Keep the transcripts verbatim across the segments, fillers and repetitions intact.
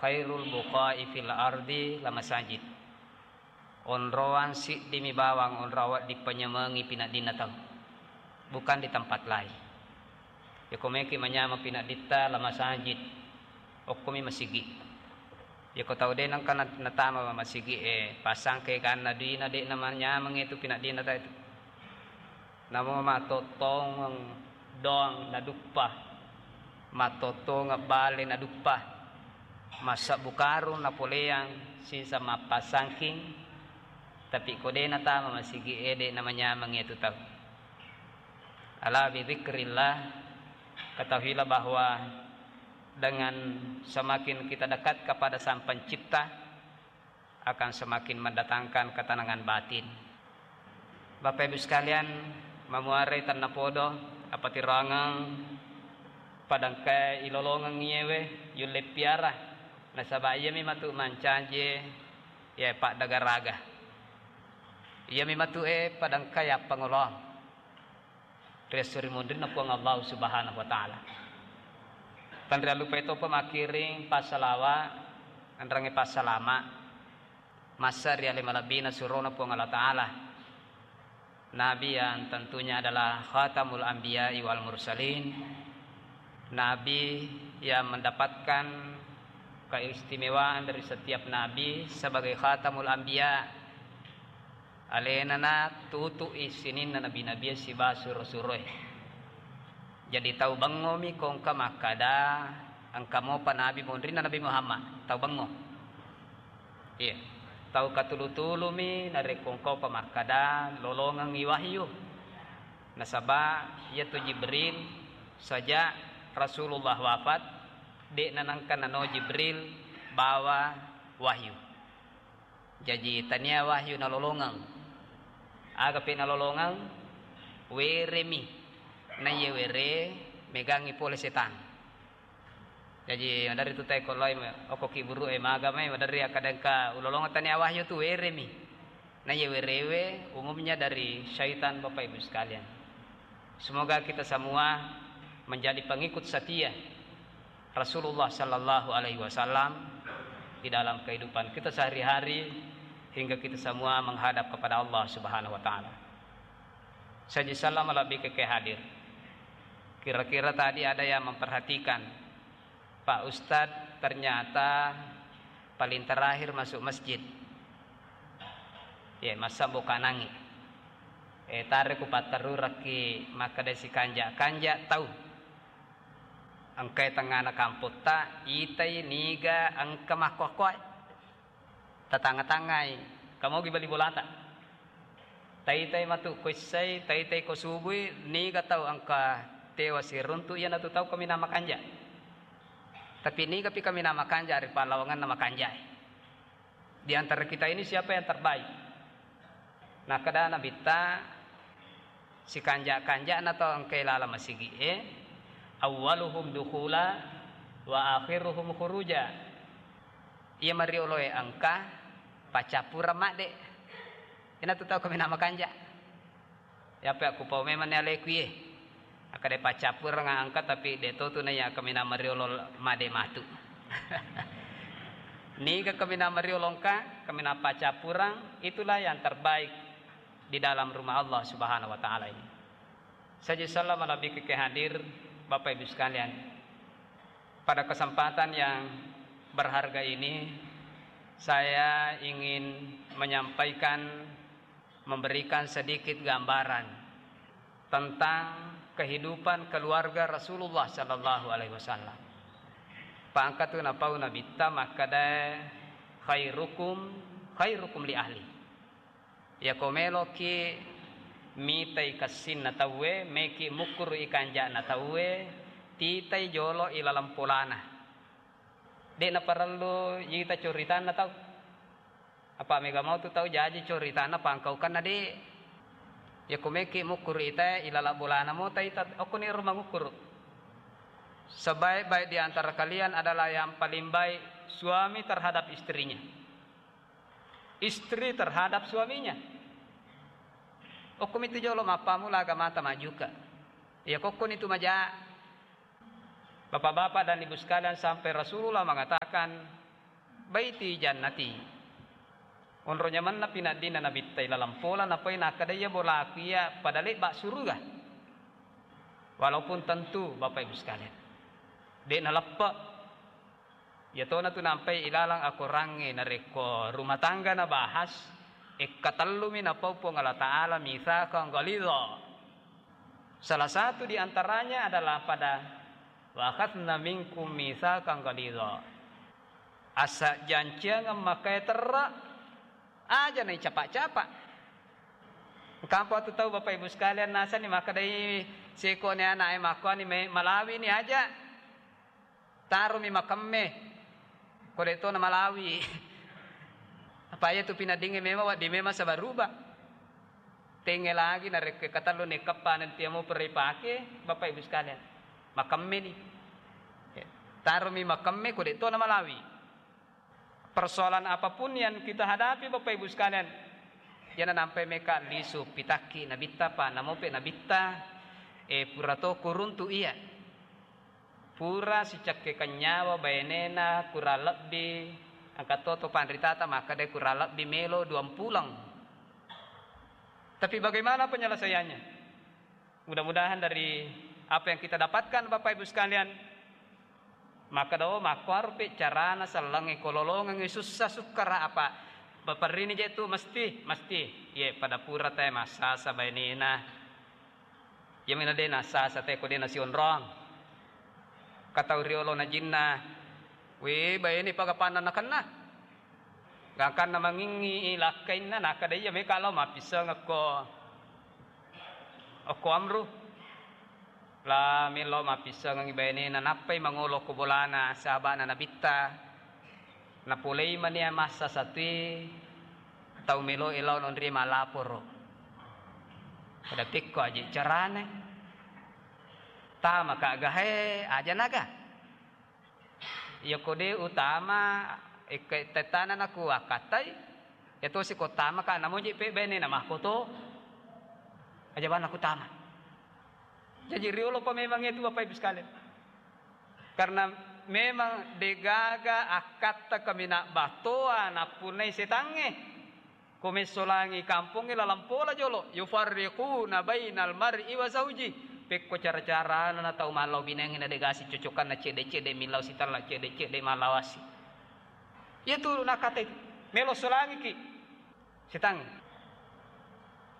Khairul buqa'i fil ardi la masajid. Onroang siddimi bawang onroang wedding panyamengi pinaddinna tau. Bukan di tempat lain. Yako meki manyameng pinadditta la masajid. Okkomi masigi. Yako tau de nengka na-, natama masigi e, pasangke ganna duina de namanyameng itu pinaddinna tau itu. Namo mattottongeng doang naduppa, mattottongeng bale naduppa, massebbu karung napoleang sisa mappasangking, tapi ko de natama masigi e, de namanyameng iyatu tau. Ala bidzikrillah, ketahuilah bahwa dengan semakin kita dekat kepada Sang Pencipta, akan semakin mendatangkan ketenangan batin. Bapak Ibu sekalian, mamuarai tennapodo, apatiroangeng padangkae ilolongeng iyewe yulle piara, nasaba iyami matu mancaji e, iya paddagaraga. Iyami matu e padangkae appangoloang ri esso ri munrinna Puang Allah Subhanahu wa Ta'ala. Tanriallupai topa makkiring passalawa, enrengnge passalama, massa ri ale malebbina surona Puang Allah Ta'ala. Nabi yang tentunya adalah khatamul anbiya'i wal mursalin, Nabi yang mendapatkan keistimewaan dari setiap nabi sebagai khatamul anbiya. Alenana tutu'i sininna nabi-nabie sibawa suro-suroe. Jadi tau bengngomi ko engka makkada engka mopa nabi monrinna Nabi Muhammad, tau bengngo. Iya. Tau katulu-tulumi narekko engka mopa makkada lolongengngi wahyu. Nasaba iyatu Jibril, sejak Rasulullah wafat, de'na nengka nano Jibril bawa wahyu. Jaji tania wahyu nalolongeng. Agapi nalolongeng? Weremi. Naiye were megangngi pole setang. Jaji maderri tu tae ko loi okko kiburu e maga mai maderri akkadengka ulolongeng tania wahyu tu weremi. Naiye werewe umumnya dari syaitan, Bapak Ibu sekalian. Semoga kita semua menjadi pengikut setia Rasulullah Sallallahu Alaihi Wasallam di dalam kehidupan kita sehari-hari hingga kita semua menghadap kepada Allah Subhanahu Wa Taala. Saji salam lebih ke hadir. Kira-kira tadi ada yang memperhatikan, Pak Ustadz ternyata paling terakhir masuk masjid. Ya, masa buka nangi. Eh, tare ku patterurakki makkeda si kanja-kanja tau. Engkai tengngana kampotta, itai niga engka makkoa-koai. Tatanga-tangai, kamogi bali bolata. Taitai matu ko essai, taitai ko subui, niga tau engka tewa siruntu, iyanatu tau kaminang makanja. Tapi niga pi kaminang makanja ri pallawanganna makanjae. Di antara kita ini siapa yang terbaik? Nakkeda Nabitta, sikanja-kanjana tau engkae laleng masigi'e, awwaluhum dukhula wa akhiruhum khuruja. Iya marioloe engka, paccappureng madde. Iyanatu tau kaminang makanja. Yape akkupau memanni aleku iye. Akkeda paccappureng engka, tapi de totu naiya kaminang mariolo madde matu. Niga kaminang mariolo engka, kaminang paccappureng, itulah yang terbaik di dalam rumah Allah Subhanahu wa Ta'ala ini. Saji salam lebih ke hadir, Bapak Ibu sekalian. Pada kesempatan yang berharga ini, saya ingin menyampaikan, memberikan sedikit gambaran tentang kehidupan keluarga Rasulullah Sallallahu Alaihi Wasallam. Pangkatu napau Nabitta makkeda, khairukum khairukum li ahli. Yako meloki mitai kessinna tauwe, meki mukkuru ikanjana tauwe, titai jolo ilaleng polana. De naparellu ita coritanna tau. Apa mega mau tu tau jaji coritanna pangkaukanna de. Yako meki mukkuru ita ilaleng bolana mo taita, okkoni ro mangukkuru. Sebaik-baik di antara kalian adalah yang paling baik suami terhadap istrinya. Istri terhadap suaminya. Okkomitu jolo mappammula agamata majuka. Iya kokkoni tu maja. Bapak-bapak dan Ibu sekalian, sampai Rasulullah mengatakan, baiti jannati. Onro nyamenna pinaddinna Nabitta ilalang pola, napai nakkeda iya bolaku iya pada lebba suruga. Walaupun tentu, Bapak Ibu sekalian, de' naleppe'. Iyatona tu nampai ilalang akorangnge narekko rumah tangga nabahas, ekkatellumi napau Puang Allah Ta'ala mitsaqan ghalidha. Salah satu di antaranya adalah pada wa akhadna minkum mitsaqan ghalidha. Asa janciangeng makkae terra, aja naicapa-capa. Engka apa tu tau, Bapak Ibu sekalian, nasani makkedai sekone ana'e makkuani me-, malawini aja. Tarumi makemme. Ko de' to na malawi. Apa iya tu pinaddingnge memang wedding memang sabaruba. Tenge lagi narekko katellu nekkeppa nanti amo perri pake, Bapak Ibu sekalian. Makemme ni. Ya. Tarumi makemme ko de' to na malawi. Persoalan apapun yang kita hadapi, Bapak Ibu sekalian, yana nampai meka lisu pitakki nabitta pa namope nabitta, eh, pura to kuruntu iya. Pura sicakke kenyawa bainena kurang lebbi, engka to to panritata makkeda kurang lebbi melo duampuleng. Tapi bagaimana penyelesaiannya? Mudah-mudahan dari apa yang kita dapatkan, Bapak Ibu sekalian, makkeda, oh, makkuaropi carana sellengnge ko lolongengngi sussa sukkara apa. Baperrini je tu mesti, mesti. Ye, pada pura te massasa bainena. Iyami na de' nassasa te ko de' nasionrong. Katau riolo na jinna. We, baine pagapanna nakenna. Gangkanna mangingngi lakkainna, nakkeda iya meka lao mappissengekko okko Amru. La melo mappissengeng bainena, nappai mangolo ko bolana sahaba'na nabitta. Napolei mania massa satui tau melo lao nonri malaporo. Pada pekko aje carane. Tama ka gahe aja naga. Iya ko de' utama, ikke tettana naku akkattai, iya tosi ko tama ka namoji pe bainena makkoto. Aja bana ku tama. Jaji riolo pa memang itu, Bapak Ibu sekalian. Karena memang degaga akkatta kaminang battoa nappunnai setangnge. Ko messolangi kampongnge lalang pola jolo, yufarriquna bainal mar'i wa zauji. Pekko cara-carana na tau mallau binengnge na degasi cocokanna, cedde-cedde millau sitella, cedde-cedde mallawasi. Iya tu nakkatai melo solangiki. Setang.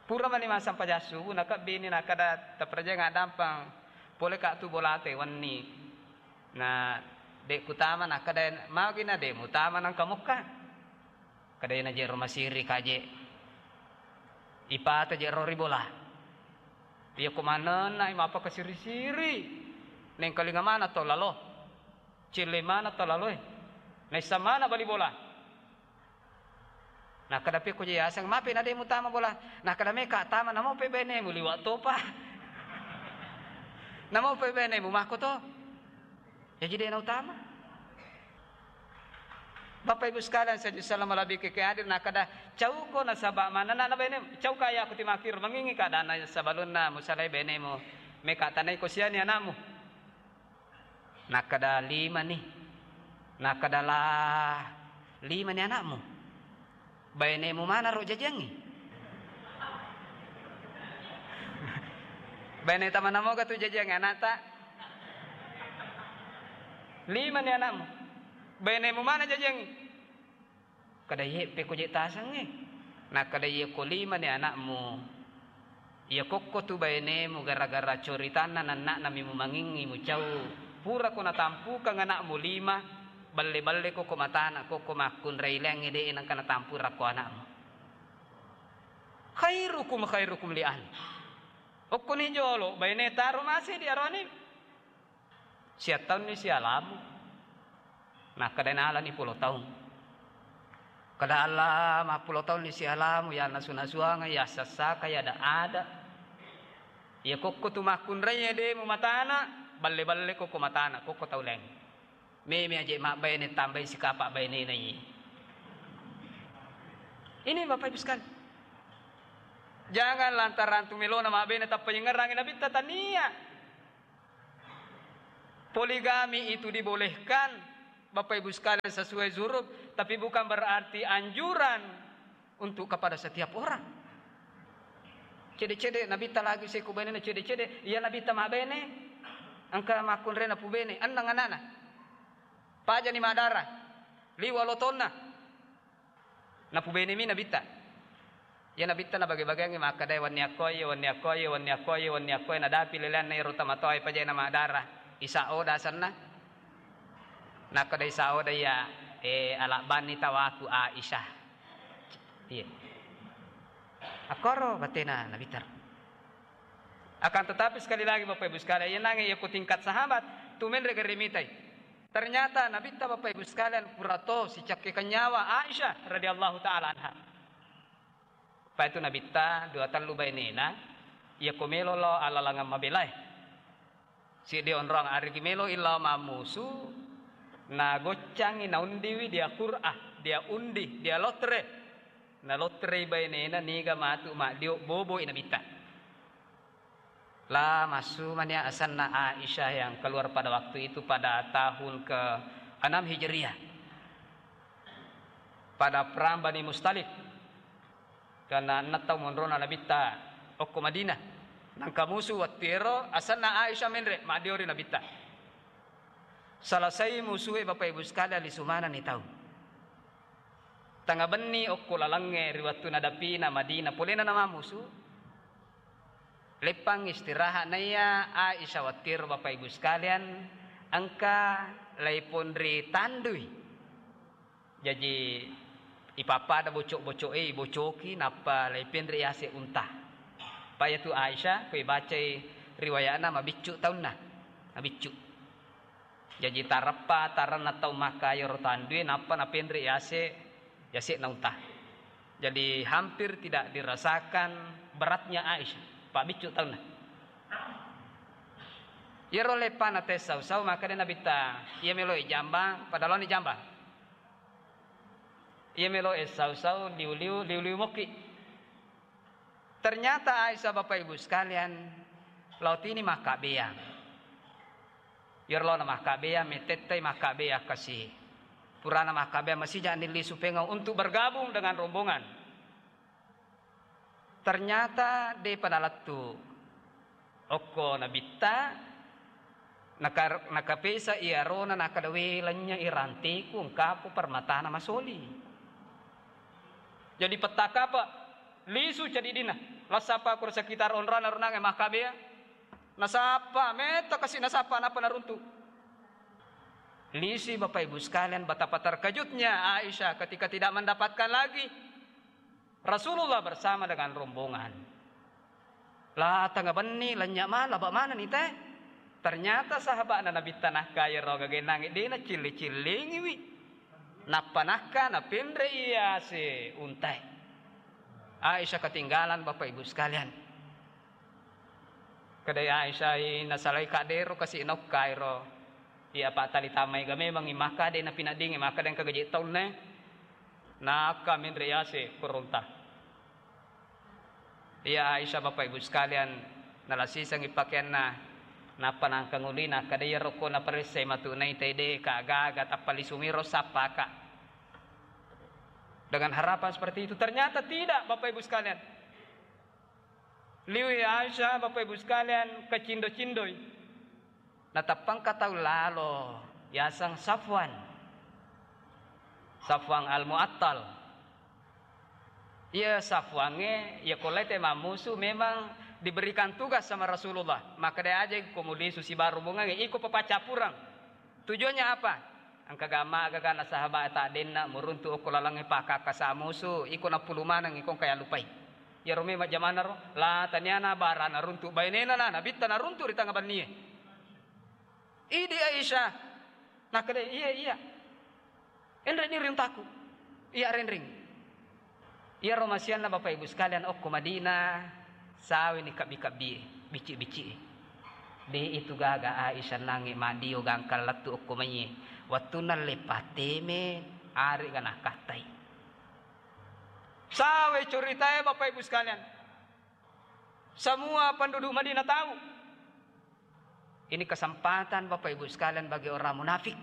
Pura mani massempajang subuh, nakebbini nakkeda, taperjang addampeng pole ka tu bolate wenni. Na de' kutama, nakkeda, magi na de' mutama nangka mukka. Kedena je ro masiri kaje. Ipata je ro ri bola. Iya ko manenna mapaka siri-siri. Nengkalinga mana to lalo. Celle mana to laloe. Naissa mana bali bola. Nakkeda pekko je yaseng, mape na de' mutama bola. Nakkeda meka tama, namope bainemu liwa' topa. Namope bainemu makko to. Jaji de' nautama. Bapak Ibu sekalian, saya salam lebih ke hadir, nakkeda cauko nasaba manenna na bainemu. Cauka ya aku timakir mengingi keadaan sabalunna musalai bainemu. Meka tanai ko siani anakmu. Nakkeda, "Lima ni." Nakkeda, "La, lima ni anakmu? Bainemu mana ro jajiangngi?" Baine tama namoga tu jajiangngi anakta? "Lima ni anakmu. Bainemu mana jajiangngi?" Kada iye pekko je tasengnge. Nakkeda, "Iya ko lima ni anakmu, iya kokko tu bainemu gara-gara coritanna nanna'na mi mumangingngi mucau. Pura ko natampukang anakmu lima, balle-balle ko ko matana, kokko makkunrai laingnge de' nengka natampurang ko anakmu. Khairukum khairukum li ahli." Okkoni jolo baine taro mase di aroni. Siattaunni sialamu. Nakkeda nalani pulo taung. Kada Allah mappulo taunni sialamu, ya nasu-nasuanga, ya sassaka, ya ada-ada. Ya kokko tu makkunrai de' mu matana, balle-balle kokko matana, kokko tau laing. Meme aje mabbaine tambai sikapa bainena iye. Ini Bapak Ibu sekalian. Jangan lantaran tu melona mabbaine tappa yengerangi nabitta, tania. Poligami itu dibolehkan Bapak Ibu sekalian, sesuai zuruf, tapi bukan berarti anjuran untuk kepada setiap orang. Cede-cede Nabitta lagi seku bainena, cede-cede, iya Nabitta mabene, engka makkunrena pubene, enneng anana. Pajani madara, liwa lotonna. Napubenemi Nabitta. Iya Nabitta nabage-bageangngi makkeda, "Wenni akkoe, wenni akkoe, wenni akkoe, wenni akkoe, nadapi leleanna iyaro tamatoae pajae namadara. Isa oda asenna." Nakkeda Isa oda iya, "Eh, alabbanni tawaku Aisyah." Iya. Akkoro batena Nabitta. Akan tetapi, sekali lagi, Bapak Ibu sekalian, iya nange iya ku tingkat sahabat, tu menre gare mitai. Ternyata Nabitta, Bapak Ibu sekalian, purato sicakkekang nyawa Aisyah radhiyallahu ta'ala anha. Paitu Nabitta dua tellu bainena, iya ko melo lao alalangang mabelae. Siddi onrong ariki melo illa mammusu, nagoccangi naundiwi dia Qur'ah, dia undi, dia lotre. Nalotrei bainena niga matu maddio boboi Nabitta. La massumania asenna Aisyah yang keluar pada waktu itu pada tahun ke enam Hijriah. Pada perang Bani Mustalik. Karena enneng tau monrona Nabitta okko Madinah. Nangka musu wettu ero asenna Aisyah menre maddiori Nabitta. Selesai musue Bapak Ibu sekalian lisu manenni tau. Tengnga benni okko lalengnge ri wettu nadapina Madinah polena namamusu. Leppang istirahat naiya Aisyah wettu ero Bapak Ibu sekalian engka laiponri tandui. Jaji ipappada bocok-bocok e, ibocoki, nappa laipenre yase unta. Pa iyatu Aisyah, ko ibacai riwayatna mabiccu taunna, mabiccu. Jaji tareppa taranna tau Makkah iyaro tandue, nappa napenre yase, yase'na unta. Jadi hampir tidak dirasakan beratnya Aisyah, pa biccu taunna. Iyaro leppana tessau-sau, makkeda Nabitta, iya melo ijambang, pada laoni jambang. Iya melo e sau-sau, liu-liu, liu-liu mokki. Ternyata Aisyah, Bapak Ibu sekalian, lao tini makkabbeang. Iyaro laona makkabbeang, metettai makkabbeang kasi. Purana makkabbeang, masija'ni lisu pengau untuk bergabung dengan rombongan. Ternyata depa nalettu okko Nabitta, naka-, nakapesa iyarona, nakkeda, "We, lennye i ranteku, engkapo permatana masoli." Jadi pettakape, lisu cedidina, lassapa kuro sekitar onrana runange makkabbeang, nasappa, metta kasi nasappa, nappa naruntu. Lisui Bapak Ibu sekalian, betapa terkejutnya Aisyah ketika tidak mendapatkan lagi Rasulullah bersama dengan rombongan. La tengnga benni, lennye ma, laba manenni te. Ternyata sahaba'na Nabitta nakka iyaro gagennangnge de nacilli-cillingiwi. Nappa nakka napenre iyase untae. Aisyah ketinggalan, Bapak Ibu sekalian. Kedai Aisyah i nasalai kaddero kasi naukkairo. Iya, apa tali tamai ga memang i maka de napinaddingi maka de engka gaji taunna. Nakka menre yase kurunta. Iya Aisyah, Bapak Ibu sekalian, nalasisengi pakeanna, nappa nangka ngulina, kada iyaro ko naparessai matu naitai de ka gaga tappa lisumiro sappaka. Dengan harapan seperti itu, ternyata tidak, Bapak Ibu sekalian. Liwi Aisyah, Bapak Ibu sekalian, kacindo-cindoi. Natappa engka tau lalo, yaseng Safwan. Safwan Al-Mu'attal. Iya Safwangnge, iya ko lete mammusu memang diberikan tugas sama Rasulullah. Makkeda aja ko mulisu sibawa rombongangnge, iko papaccappureng. Tujuannya apa? Engka gamma gaga na sahabat ta denna muruntu okko lalengnge pakakasa musu, iko nappulu maneng iko engka yallupai. Iyaro memang jamanna ro, la taniana barana runtu bainena na nabitta naruntu ri tengnga bennie. Idi Aisyah. Nakkeda, "Iya, iya. Enre ni riuntaku. Iya renreng." Iyaro masianna Bapak Ibu sekalian okko Madinah, saweni kabbi-kabbi, bicci-bicci. De itu gaga Aisyah nange madio gangkal lettu okko maiye. Wettunna leppateme, arega nakattai. Sawe ceritae Bapak Ibu sekalian. Semua penduduk Madinah tahu. Ini kesempatan Bapak Ibu sekalian bagi orang munafik.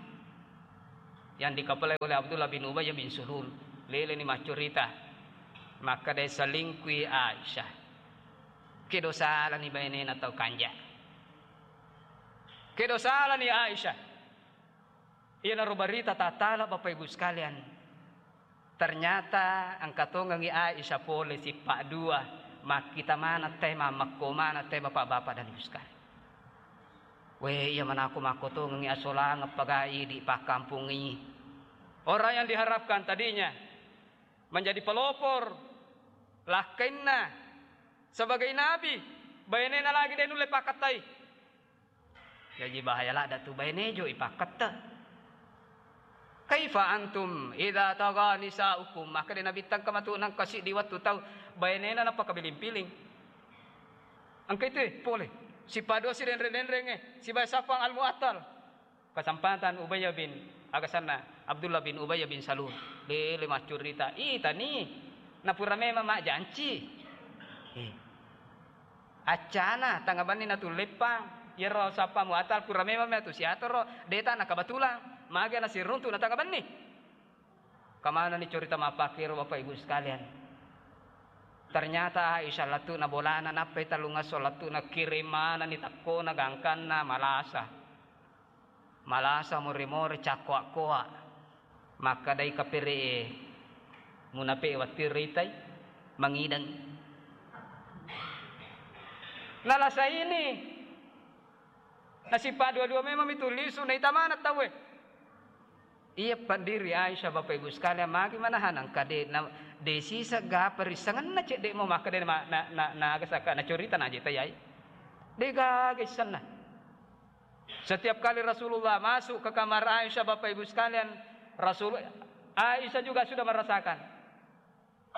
yang dikepalai oleh Abdullah bin Ubay bin Salul. Leleni maccurita, makkeda selingkuhi Aisyah. Kedo salani bainena tau kanja. Kedo salani Aisyah. Iyanaro barita tattala, Bapak Ibu sekalian. Ternyata engka tongengngi Aisyah pole sippa dua, makkita maneng te, mammekko maneng te, Bapak-bapak dan Ibu sekalian. We, iya manako makko tongengngi asolangeng paga idi pakkampungngi. Orang yang diharapkan tadinya menjadi pelopor lakkainna sebagai nabi, bainena lagi de nulle pakkattai. Jaji bahaya ladda tu baine jo ipakketta. Kaifa antum idza tagha nisaukum? Makkeda Nabitta, engka matu nengka siddi wettu tau bainena napakabiling-piling. Engka itu, eh, pole. Sipado sidenreng-denreng, eh, sibawa sappang Al-Mu'attal. Kesempatan Ubay bin, aga asenna, Abdullah bin Ubay bin Salul. Lele maccurita. Itani. Napura memang majjanci. Eh. Accana, tangnga benni natulleppang. Iyaro sappa Mu'attal pura memang matu siatoro, deta na kebetulan. Mage nasiruntu na tangnga benni. Kamanani curita mappakkiro, Bapak Ibu sekalian. Ternyata Aisyah lettu'na bolana, nappai tellungesso lettu'na, kirim manenni tekkona gangkanna malasa. Malasa more-more cakkoa-koa. Makkedai kapere'e, munape wattu ritai, mangideng. Nalasa ini, nasippa dua-dua memang mitu lisu, naita maneng tauwe. Iya paddiri Aisyah, Bapak Ibu sekalian, magi manaha nengka de, na, de siseng gapa rissengenna cedde mo makkeda na, na, na, na, nagasaka, nacurita naje tayai. De gaga issenna. Setiap kali Rasulullah masuk ke kamar Aisyah, Bapak Ibu sekalian, Rasul, Aisyah juga sudah merasakan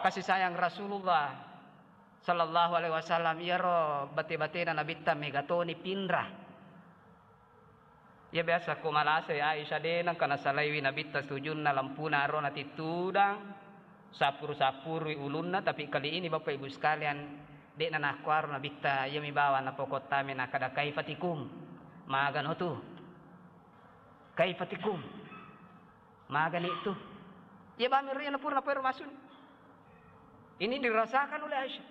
kasih sayang Rasulullah sallallahu alaihi wasallam. Iyaro bate-batena Nabitta mega toni pinra. Iya biasa ko malasai Aisyah, de nengka nasalaiwi Nabitta sujunna, lempuna aro natittudang, sappuru-sappurui ulunna, tapi kali ini, Bapak Ibu sekalian, de'na nakkuaro Nabitta, iyami bawang napokottame, nakkeda, "Kaifa tikum?" Magano tu? "Kaifa tikum?" Magani tu? Iya bami ro iya napura napoero masuni. Ini dirasakan oleh Aisyah.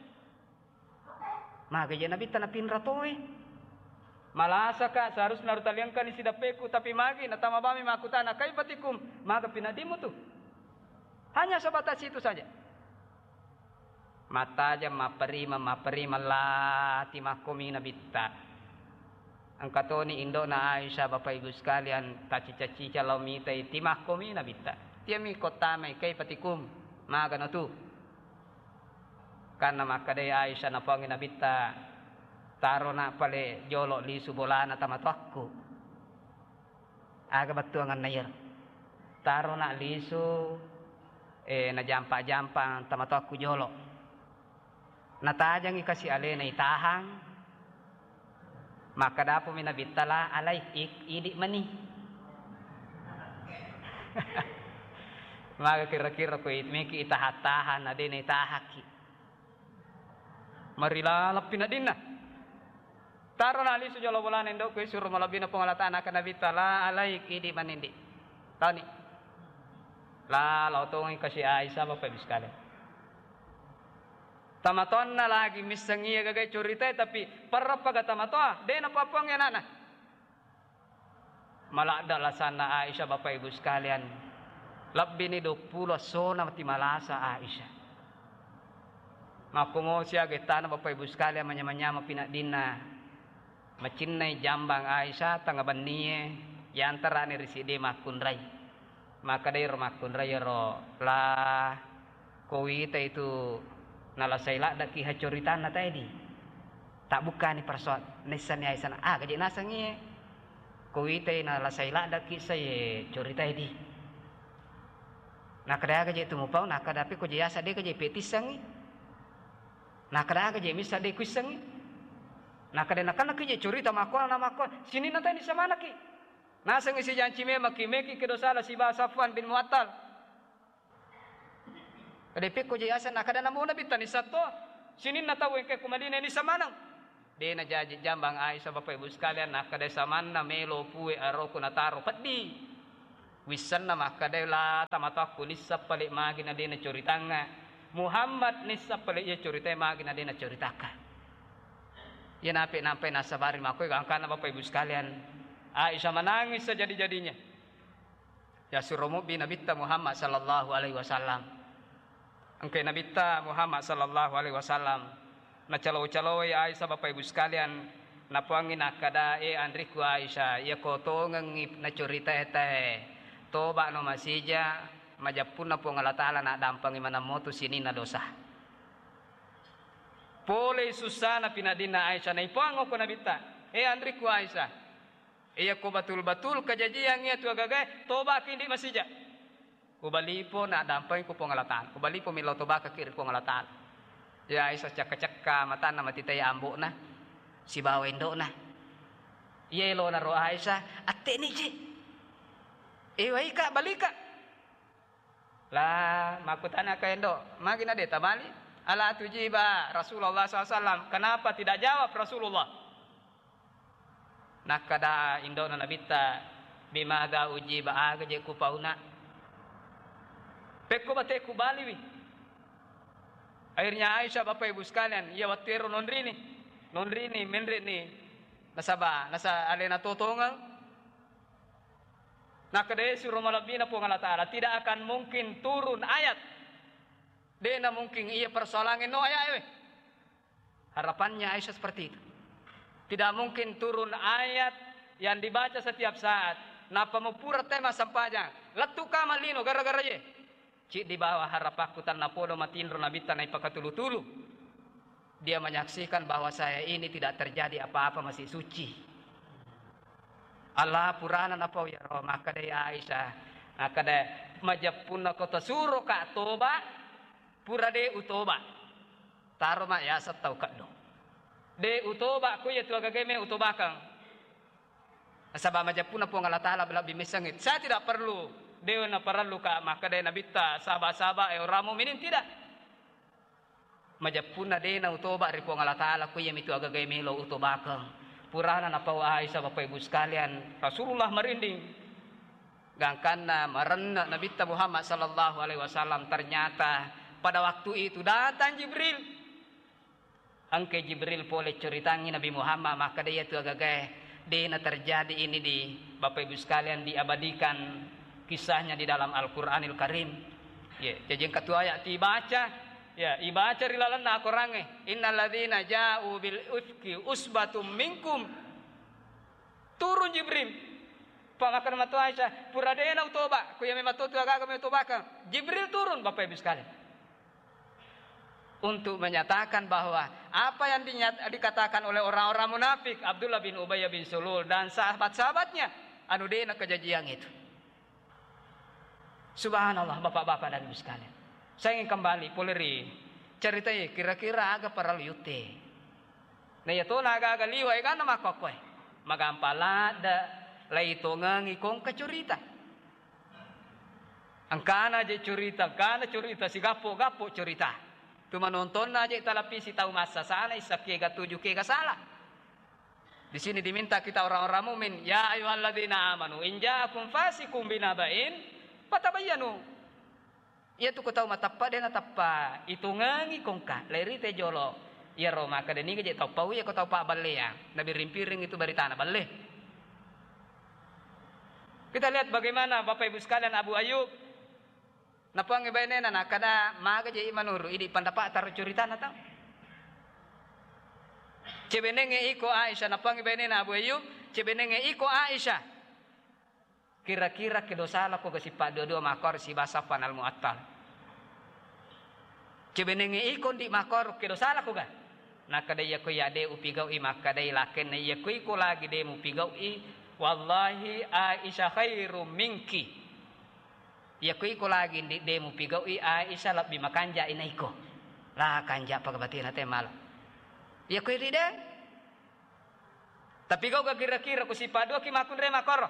Maga je Nabitta napinra toe. Malasaka, seharusna rutaliangkani sidappeku, tapi magi natama bami makkutana, "Kaifa tikum?" Maga pinaddimu tu? Hanya sebatas itu saja. Mattajeng, mapperimeng, mapperimeng, la timakkomi Nabitta. Engka toni indo'na Aisyah, Bapak Ibu sekalian, tacicang-cicang lao mitai, timakkomi Nabitta. Tiami kottamai, "Kaifa tikum?" Magano tu? Kanna makkedai Aisyah, napuangngi Nabitta, "Tarona pale jolo lisu bolana tamatoakku." Aga bettuanganna iyaro? Tarona lisu, eh, najampa-jampa tamatoakku jolo. Natajangi kasi alena itahang, makkadapumi Nabitta, "La alaik, ik-, idi mani." Maga kira-kira ko it-, meki itaha-taha na de naitahakki. Marilalappi nadinna. Tarona lisu jolo bolana indo'ku, suro malebbina Puang Allah Ta'ala, nakkeda Nabitta, "La alaik, idi manindi." Tauni. La, lao tongi kasi Aisyah, Bapak Ibu sekalian. Tamatoanna lagi misseng iya gagai curitae, tapi parrappaga tamatoa, de napapuangngi anakna. Maladda lasanna Aisyah, Bapak Ibu sekalian. Lebbini duappulo essona mati malasa Aisyah. Makkumo siaga ettana, Bapak Ibu sekalian, manyameng-nyameng pinaddinna. Macinnai jambang Aisyah, tengnga bennie, yantarani ri siddi makkunrai. Makkedai ro makkunrai ero, "La, ko witai tu nalasai laddaki ha coritanna taedi. Tabbukkani persoal, naissenni Aisyah, aga je nasengngi, ko witai nalasai laddaki sai coritai di. Nakkeda aga je tu mupau, nakkeda pe ko je yasa de ka je petissengngi. Nakkeda aga je missa de kuissengngi. Nakkeda nakanna ki je corita makkuana na makkuana, sininna tae nissa manekki." Nasengngi sijanci memekki, meki kedo sala siba Safwan bin Muattal. Kada pekko je yaseng, nakkeda namo Nabitta nissa to, sininna tau engka ku Madinah nissa maneng. De najaji jambang Aisyah, Bapak Ibu sekalian, nakkeda samanna melo pue aroku nataro peddi. Wissenna makkeda, "La, tamatoakku, nisseng pale magi na de nacoritangnga. Muhammad nisseng pale iya coritae magi na de nacoritakka." Iya nape nampai nasabari makkoi, gangkanna Bapak Ibu sekalian. Aisyah menangis sejadi-jadinya. Ya, suro mubbi Nabitta Muhammad sallallahu alaihi wasallam. Engkai Nabitta Muhammad sallallahu alaihi wasallam, nacalo-caloi Aisyah, Bapak Ibu sekalian, napoangngi nakkeda, "E anrikku Aisyah, iyako tongengngi nacoritae tae, toba'no masija, majeppunna Puang Allah Ta'ala naddampengi maneng motu sininna dosa." Polei sussana pinaddinna Aisyah, naipoang okko Nabitta, "E anrikku Aisyah, iyako batul-batul kajajiang iyatu agagae, toba'ki ndi masija." Ubalipo naddampengi ku Puang Allah Ta'ala. Ubalipo millau tobakaki ri Puang Allah Ta'ala. Ya Aisyah cekka-cekka matanna matitai ambo'na sibawa indo'na. Iya elona ro Aisyah, "Atte'ni je. Ewaika, balika." La, makkutanaka indo, "Magi na de tabali? Ala tujiba Rasulullah sallallahu alaihi wasallam. Kenapa tidak jawab Rasulullah?" Nakkeda indo'na Nabitta, "Bimadza ujiba, aga je kupauna? Pekko bate kubaliwi." Akhirnya Aisyah, Bapak Ibu sekalian, iya wettu ero nonrini, nonrini, menre'ni, nasaba, nasa alena totongeng. Nakkeda suro malebbina Puang Allah Ta'ala, "Tidak akan mungkin turun ayat." De'na mungkin iya persoalangnge no ayat ewe. Harapannya Aisyah seperti itu. Tidak mungkin turun ayat yang dibaca setiap saat. Nappa mupura tema sempajang. Lettu kamang lino gara-gara ye. Ciddi bawa harapakku tennapodo matinro Nabitta naipakatulu-tulu. Dia menyaksikan bahwa saya ini tidak terjadi apa-apa, masih suci. Allah purana napau yaro, makkedai Aisyah, makkeda, "Majeppunna ko tasuro ka toba, pura de utoba." Taro ma yaseng tau keddo. De utoba, ko iya tu agagae me utobakang. Nasaba majeppunna Puang Allah Ta'ala lebbi messengngi. Saya tidak perlu, de naparellu ka makkeda Nabitta, saba-saba, eh, orang mukminin, tidak. Majeppunna de nautoba ri Puang Allah Ta'ala, ko iya mitu agagae melo utobakeng. Purana napau Aisyah, Bapak Ibu sekalian, Rasulullah merinding. Gangkanna marenna Nabitta Muhammad sallallahu alaihi wasallam, ternyata pada waktu itu datang Jibril. Engkai Jibril pole curitangngi Nabi Muhammad, makkeda iyatu agagae dena terjadi ini di Bapak Ibu sekalian, diabadikan kisahnya di dalam Al-Quranil Karim. Ya, jadi engka tu ayat tibaca, ya, ibaca ri lalenna akorangnge, "Innalladzina ja'u bil ifki usbatum minkum." Turun Jibril. Pak, makkeda matu Aisyah, "Pura dena utoba, ku iya memang tu agaga me utobakang." Jibril turun, Bapak Ibu sekalian. Untuk menyatakan bahwa apa yang dinyat-, dikatakan oleh orang-orang munafik, Abdullah bin Ubay bin Salul dan sahabat-sahabatnya, anu dena kejadian itu. Subhanallah, Bapak-bapak dan Ibu sekalian. Saya ingin kembali pole ri ceritai kira-kira aga parallu yutte. Na iya tona aga-aga liwa egana makkokkoe. Magampa ladde, laitongengi kongka curita. Engkana je curita, engkana curita, sigappo-gappo curita. Tu manontonna je talapisi tau massasana, issa kega tuju, kega salah. Di sini diminta kita orang-orang mukmin, "Ya ayyuhalladzina amanu in ja'akum fasiqun binaba'in fatabayyanu." Iya tu ko tau mateppa, de nateppa itungengi kongka, lairi te jolo. Iyaro makkeda niga je tau pau iya ko tau pabballeang, nabiring-piring itu baritana balle. Kita lihat bagaimana Bapak Ibu sekalian Abu Ayub. Napuangngi bainena nakkeda, "Maga je i manuru, idi pendapat taro curitana tau." Cebenengnge iko Aisyah, napuangngi bainena Abu Ayyub, "Cebenengnge iko Aisyah. Kira-kira kedo salako ga sippa dua-dua makor siba Safwan al-Mu'attal. Cebenengnge iko ndi makor kedo salako ga?" Nakkeda, "Iya ko iya de upigau'i," makkeda i lakenna, "Iya ko iko lagi de mupigau'i, wallahi Aisyah khairum minki." Iya ko iko lagi ndi de mupigau'i, Aisyah lebbi makanja i na iko. La kanja pagabatina te mala. Iya ko idi de. Tapi gau ga kira-kira ku sippa dua ki makunre makoro.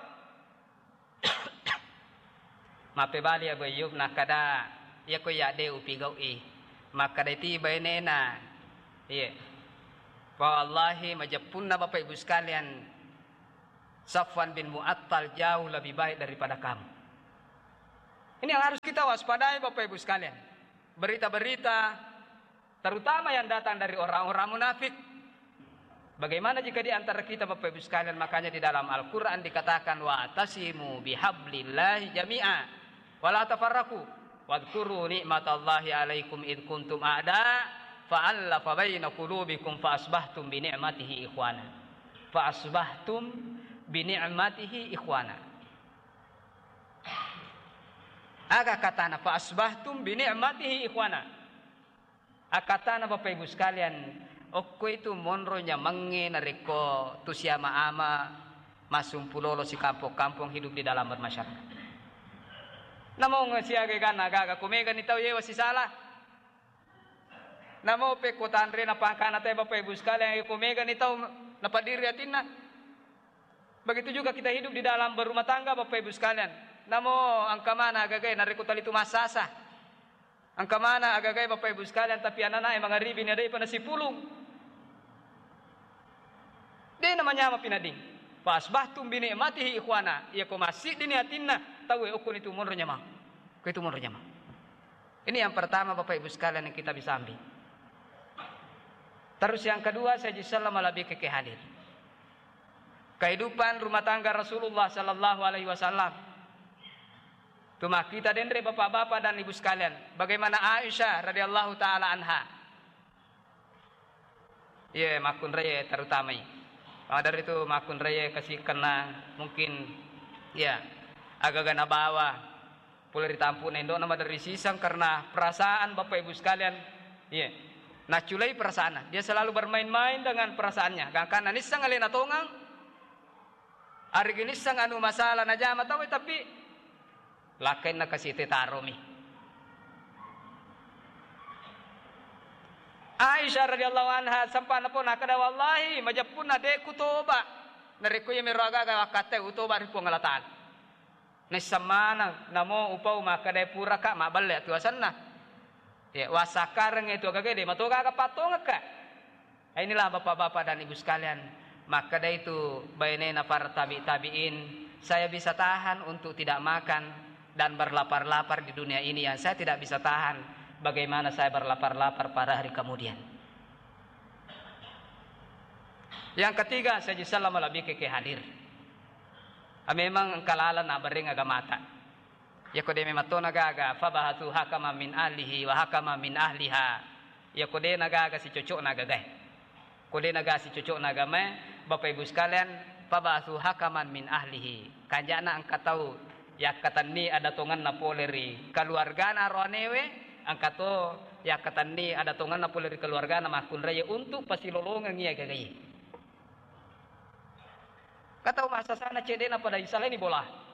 Mappebali Abu Ayyub nakkeda, "Iya ko iya de upigau'i." Makkeda ti bainena, "Iya. Fa wallahi majeppunna Bapak Ibu sekalian, Safwan bin Mu'attal jauh lebih baik daripada kamu." Ini yang harus kita waspadai, Bapak Ibu sekalian. Berita-berita, terutama yang datang dari orang-orang munafik. Bagaimana jika di antara kita, Bapak Ibu sekalian, makanya di dalam Al-Quran dikatakan, "Wa'tasimu bihablillahi jami'a, wa la tafarraqu, wadhkuru ni'matallahi alaikum idh kuntum a'da, fa'allafa baina qulubikum fa asbahtum bi ni'matihi ikhwana." Fa asbahtum bi ni'matihi ikhwana. Aga katana, "Fa asbahtum bi ni'matihi ikhwana." Akatana, Bapak Ibu sekalian, okko itu monro nyamangnge narekko tu siama-ama massumpulolo sikampong-kampong hidup di dalam bermasyarakat. Namong siaga ganna gaga, ko megani tau yewa sisala. Namo pekko tanre na pangkana te, Bapak Ibu sekalian, ko megani tau napadiri atinna. Begitu juga kita hidup di dalam berumah tangga, Bapak Ibu sekalian. Namo engka mana agagae narekko talitu massasa. Engka mana agagae, Bapak Ibu sekalian, tapi ananae mangaribi ni adai pa nasipulung. De namanyama pinading. Fa asbahtum bi ni'matihi ikhwana. Iya ko massiddini atinna, tauwe okkoni tu monro nyamang. Ko itu monro nyamang. Ini yang pertama, Bapak Ibu sekalian, yang kita bisa ambil. Terus yang kedua, saya ji sallama lebih ke hadir. Kehidupan rumah tangga Rasulullah sallallahu alaihi wasallam. Tuma kita denre, bapak-bapak dan ibu sekalian, bagaimana Aisyah radhiyallahu taala anha. Iya, makkunraie terutamai. Maka dari itu makkunraie kasi kenna mungkin, iya, agaga nabawa pole ri tampu'na indo'na maderri siseng karena perasaan, Bapak Ibu sekalian. Iya. Naculai perasaanna. Dia selalu bermain-main dengan perasaannya. Gangkanna nisseng alena tongang, arigi nisseng anu masalah najama tauwe, tapi lakkainna kasi tetaromi. Aisyah radhiyallahu anha sempa napau, nakkeda, "Wallahi, majeppunna de' kutoba. Narekko iya mero agaga wakkattai, utoba ri Puang Allah Taala." Naisseng maneng, namo upau makkedae puraka mabballe atuasenna. Ya, wassakkareng itu agaga de' mato gaga pattongekka. Inilah bapak-bapak dan ibu sekalian, makkeda itu bainena para tabi-tabiin, "Saya bisa tahan untuk tidak makan dan berlapar-lapar di dunia ini, yang saya tidak bisa tahan, bagaimana saya berlapar-lapar pada hari kemudian." Yang ketiga, saya ji sallama lebih ke hadir. Ah, memang engka laleng nabereng agamata. Yako de' memang tona gaga, "Fabahatsu hakaman min ahlihi wa hakaman min ahliha." Yako de' nagaga sicocokna agagae. Ko de' nagaga sicocokna agamae, Bapak Ibu sekalian, "Fabahatsu hakaman min ahlihi." Kanja'na engka tau yakkatenni adatongenna pole ri keluargana aroanewe, engka to yakkatenni adatongenna pole ri keluargana makkunraie untuk pasilolongengngi agagae. Ka tau massasana cedde'na pada isalaini bola.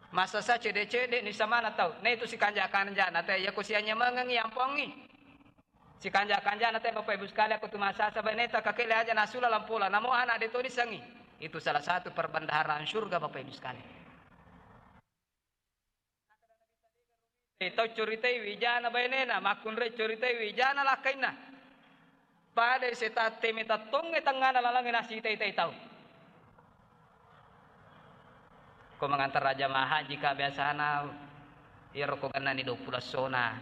Massasa cedde'-cedde' ni samana tau. Na itu sikanja-kanjana te, yako sianyamengengngi ampongngi. Sikanja-kanjana te, Bapak Ibu sekalian, ko tu massasa baineta kakele aja nasula lampola. Namo anak de' to nisengngi. Itu salah satu perbendaharaan surga, Bapak Ibu sekalian. Eh, tau curitai wijana bainena, makkunrai curitai wijana lakkainna. Pada setang teme tattongnge tengngana lalangnge nasitai-tai tau. Ko mangantara jamaah haji ka biasana, iyaro ko gennani duappulo essona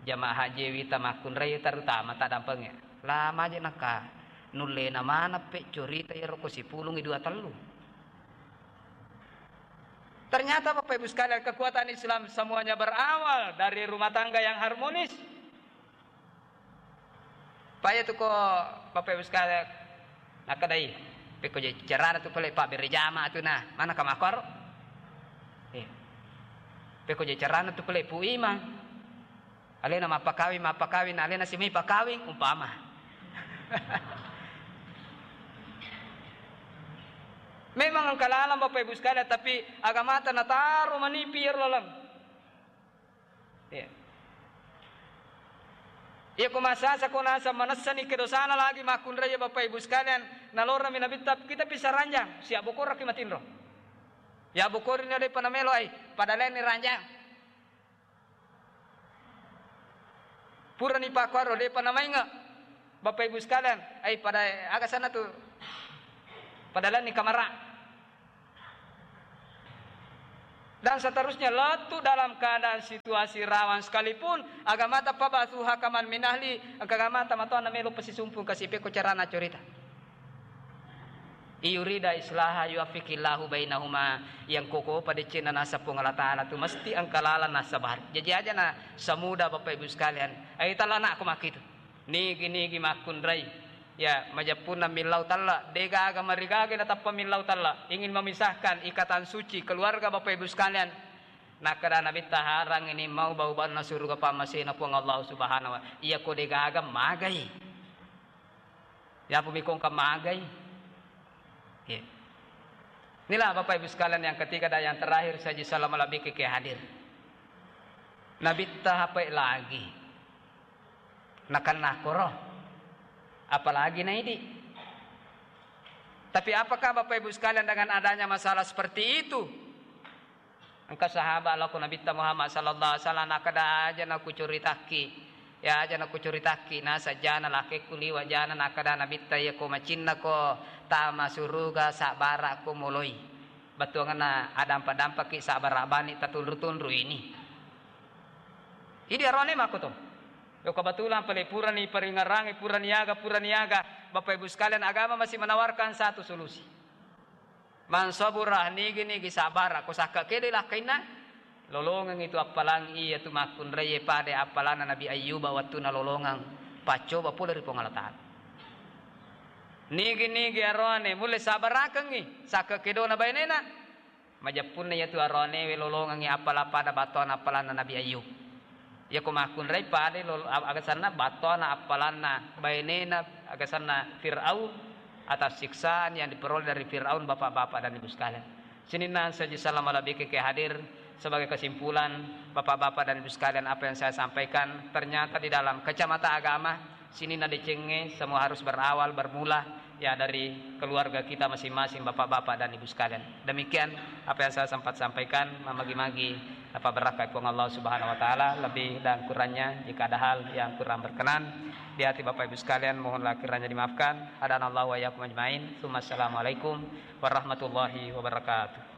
jamaah haji wita makkunrai terutama taddampengnge. Lama je naka nullena maneng pe curita iyaro ko sipulungi dua tellu. Ternyata, Bapak Ibu sekalian, kekuatan Islam semuanya berawal dari rumah tangga yang harmonis. Paya tu ko, Bapak Ibu sekalian, nakadai, pekko je carana tu pale pabbere jama tu na, mana ka makkoro? Eh. Pekko je carana tu pale Pu Imang. Alena mappakawing, mappakawing, alena simai pakawing, umpama. Memang engka laleng, Bapak Ibu sekalian, tapi agamata nataro manipi iyaro laleng. Iya. Iya, ko massasa ko naseng manessani kedosana lagi makkunrai, Bapak Ibu sekalian, nalorami Nabitta, kita bisa ranjang, siabbokoraki matinro. Ya bokori ni depa namelo ai, pada lainni ranjang. Purani pakkuaro, depa namainge. Bapak Ibu sekalian, ai pada aga sana tu? Pada lainni kamara. Dan seterusnya, lettu dalam keadaan situasi rawan sekalipun, agamata pabasuha kaman minahli, engka agamata matoanna melo pesisumpung kasi pekko carana corita. Iyurida islaha yuwaffiqillahu bainahuma, yang koko pada cina nasa Puang Allah Ta'ala tu mesti engka lalang nasa bahari. Jadi aja na semudah Bapak Ibu sekalian, ai tala anakku makitu. Nigi-nigi makkunrai. Ya, majeppunna millau talla, degaga marigaga natappa millau talla. Ingin memisahkan ikatan suci keluarga Bapak Ibu sekalian. Nakkeda Nabitta, harang ini mau bau-baunna suruga pammasena Puang Allah Subhanahu wa. Iya ko degaga magai. Ya pemikongka magai. Ya. Inilah Bapak Ibu sekalian yang ketiga dan yang terakhir, saji salama labike ke hadir. Nabitta hapai lagi. Nakenna koro. Apalagi naidi. Tapi apakah Bapak Ibu sekalian dengan adanya masalah seperti itu? Engka sahabat lao ko Nabitta Muhammad sallallahu alaihi wasallam, nakkeda, aja nakucuritakki. Ya, aja nakucuritakki, naseng jana lakekku liwa jana, nakkeda Nabitta, iya ko macinna ko tama suruga, sabbara ko moloi. Bettuanna adampa-dampaki, sabbara bani tatunru-tunru ini. Idi arone makko to. Yo kebetulan pale purani paringerangi, purani aga, purani aga. Bapak Ibu sekalian, agama masih menawarkan satu solusi. Man sabura, nigi-nigi sabara, ko sakka kedo lakkainna, lolongeng itu appalang iya tu makkunraie pada appalanna Nabi Ayyuba wettu nalolongeng paccoba pole ri Puang Allah Ta'ala. Nigi-nigi aroane mulle sabarakengngi sakka kedona bainena, majeppunna iyatu aroanewe lolongengngi appala pada battoana appalanna Nabi Ayyub. Iyako makkunrai pada lolo-, ag-, agasanna battoana appalanna bainena, agasanna Fir'aun, atas siksaan yang diperoleh dari Fir'aun, Bapak-bapak dan Ibu sekalian. Sininna saji salama labike ke hadir. Sebagai kesimpulan, Bapak-bapak dan Ibu sekalian, apa yang saya sampaikan, ternyata di dalam kacamata agama, sininna decengnge semua harus berawal, bermula, ya, dari keluarga kita masing-masing, Bapak-bapak dan Ibu sekalian. Demikian apa yang saya sempat sampaikan, mamagi-magi apa berkah Puang Allah Subhanahu wa Ta'ala, lebih dan kurangnya jika ada hal yang kurang berkenan di hati Bapak Ibu sekalian, mohonlah kiranya dimaafkan. Hadanallahu wa iyyakum ajmain. Tsumma assalamualaikum warahmatullahi wabarakatuh.